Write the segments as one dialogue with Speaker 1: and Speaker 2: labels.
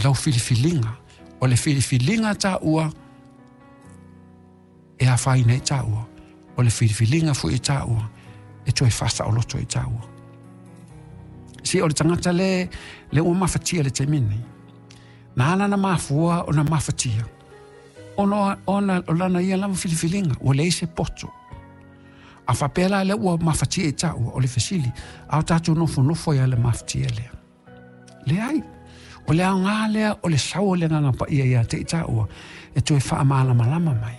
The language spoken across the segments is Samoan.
Speaker 1: Lau filifiliga, o le filifiliga a taua e afaina ai taua, o le filifiliga foi e taua e toe faasaoloto ai taua. Se o le tagata le, le ua mafatia i le taimi lenei, na ala ona mafua ona mafatia, ona, ona o lana ia lava filifiliga, ua leai se poto. A faapea la lea ua mafatia i taua, o le fesili, a o tatou nofonofo ai lava i le mafatia lea? Leai. O le aoga lea o le sau o le Agaga Paia ia te i taua e toe faamalamalama mai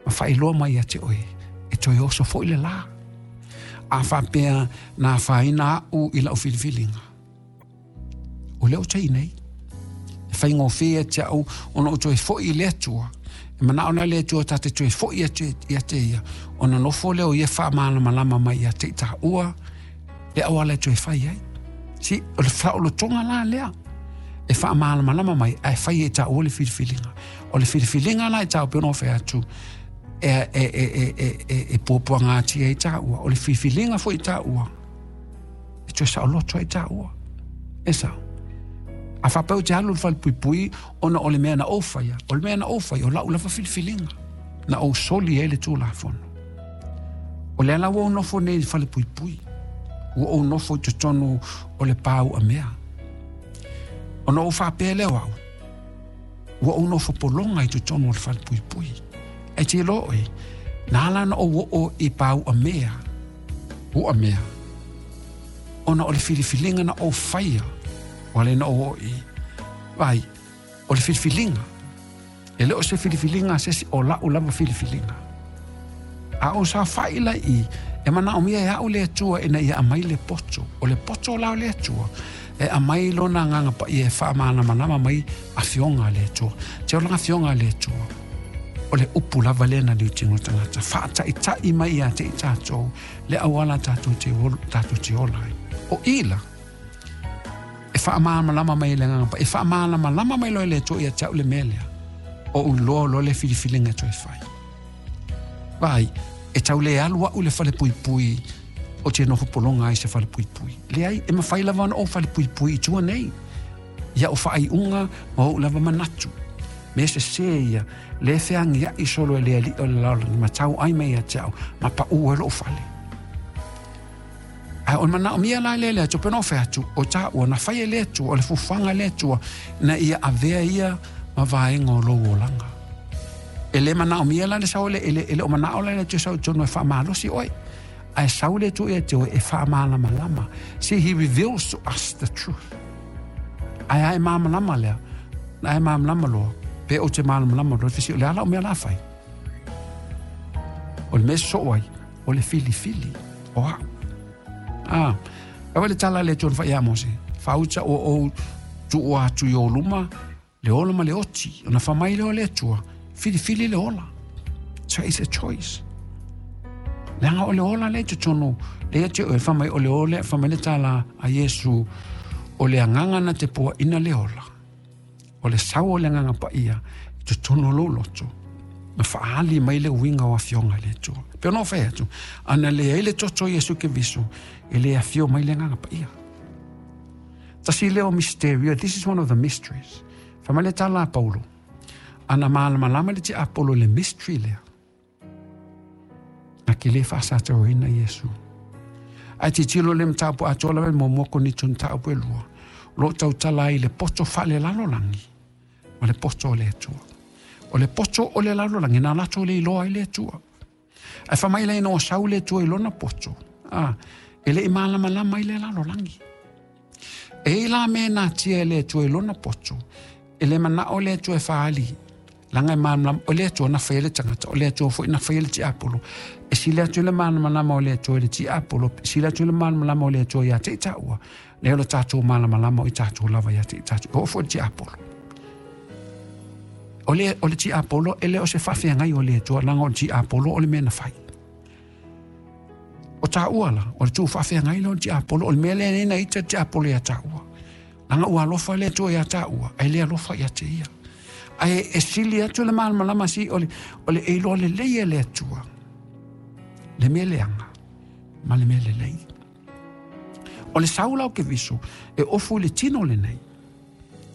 Speaker 1: ma faailoa mai ia te oe e toe oso foi le la. A faapea na afaina au i lau filifiliga, o lea ou te i nei. E faigofie ia te au ona ou toe foi i le Atua. E manao la le Atua ta te toe foi atu ia te ia, ona nofo lea o ia faamalamalama mai ia te i taua le auala e toe fai ai. Si, o le saolotoga la lea e faamalamalama mai ae fai e taua le filifiliga. O le filifiliga la e taua pei ona ou fai atu, e, e, e, e, e, e, e puapuagatia ai taua. O le filifiliga foi taua, e toe saoloto ai taua. E sao. A faapea ou te alu i le falepuipui ona o le mea na ou faia, o le mea na ou faia, o lau lava filifiliga, na ou soli ai le Tulafono. O lea la ua ou nofo nei i le falepuipui, ua ou nofo i totonu o le pa uamea. Ona ou faapea lea o au, ua ou nofo pologa i totonu o le falepuipui. Ae te iloa oe, na ala ona ou oo i pa uamea, uamea, ona o le filifiliga na ou faia, ua le na ou oo i, vai, o le filifiliga. E le o se filifiliga a se isi, o la'u lava filifiliga. A ou saofa'i la i i, e manaomia e a'u le Atua ina ia aumai le poto. O le poto la o le Atua, e aumai Lona Agaga Paia e faamalamalama mai Afioga a le Atua. Te ola Afioga a le Atua, o le upu lava lea na liutino tagata, faataita'i mai ia te i tatou le auala tatou te, tatou te ola ai. O i la, e faamalamalama mai e le Agaga Paia, e faamalamalama mai loa e le Atua ia te au le mea lea, o ou iloa loa le filifiliga e toe fai. Vaai, e tau le alu a'u i le falepuipui o te nofo pologa ai se falepuipui. Leai, e mafai lava ona ou falepuipui i tua nei, i a'u faaiuga ma ou lava manatu. Mea sesē ia, le feagia'i solo e le alii o le lalolagi ma tau ai mai ia te au, ma paʻū ai lo'u fale. Ae o le manaomia la lea e le Atua, pei ona ou fai atu, o taua na fai e le Atua, o le fuafuaga a le Atua, na ia avea ia ma vaega o lou olaga. E le manaomia la le sau, e le, e le o manao la le Atua sau i totonu e faamalosi oe. Ae sau le Atua ia te oe e faamalamalama. See, he reveals to us the truth. Ae a e malamalama lea, na e malamalama loa, pe ou te malamalama loa, fesi, o le a lau mea la fai. O le mea soo ai, o le filifili o au. Ah, aua le tala le Atua na fai ia Mose, faauta ua ou tuua atu i ou luma le ola ma le oti. Ona fai mai lea o le Atua, filifili le ola. So it's a choice. Leaga o le ola lea i totonu, lea te oe, fai mai o le ola, fai mai le tala a Iesu, o le agaga na te poaina le ola. O le sau o le Agaga Paia i totonu o lou loto, na faaali mai le uiga o afioga i le Atua. Pei ona ou fai atu, ana leai le toto o Iesu Keriso, e le afio mai le Agaga Paia. Tasi lea o misterio, this is one of the mysteries. Fai mai le tala a Paulo, ana malamalama le tiapolo i le mystery lea, Na ke le faasatauaina Iesu. Ae tilotilo le mataupu atoa lava i le muamua Korinito mataupu e lua, o lo o tautala ai i le poto faalelalolagi ma le poto o le Atua. O le poto o le lalolagi, na latou le iloa ai le Atua. Ae fai mai la ina ua sau le Atua i lona poto, a, e le i malamalama ai le lalolagi. E i ai la mea e natia e le Atua i lona poto, e le manao le Atua e faaali, leaga e malamalama, o le Atua na faia le tagata, o le Atua foi na faia le tiapolo. E sili atu le malamalama o le Atua i le tiapolo, e sili atu le malamalama o le Atua ia te i taua, nai lo tatou malamalama o i tatou lava ia te i tatou, e oo foi i le tiapolo. O le, o le tiapolo, e le o se faafeagai o le Atua, leaga o le tiapolo o le mea na fai. O taua la, o le tuu faafeagai lea o le tiapolo, o le mea lea nei na ita le tiapolo ia taua. Leaga ua alofa le Atua ia taua, ae le alofa ia te ia. Ae e sili atu le malamalama si o le, o le e iloa lelei e le Atua. Le mea leaga ma le mea lelei. O le sau la o Keriso e ofu i le tino lenei.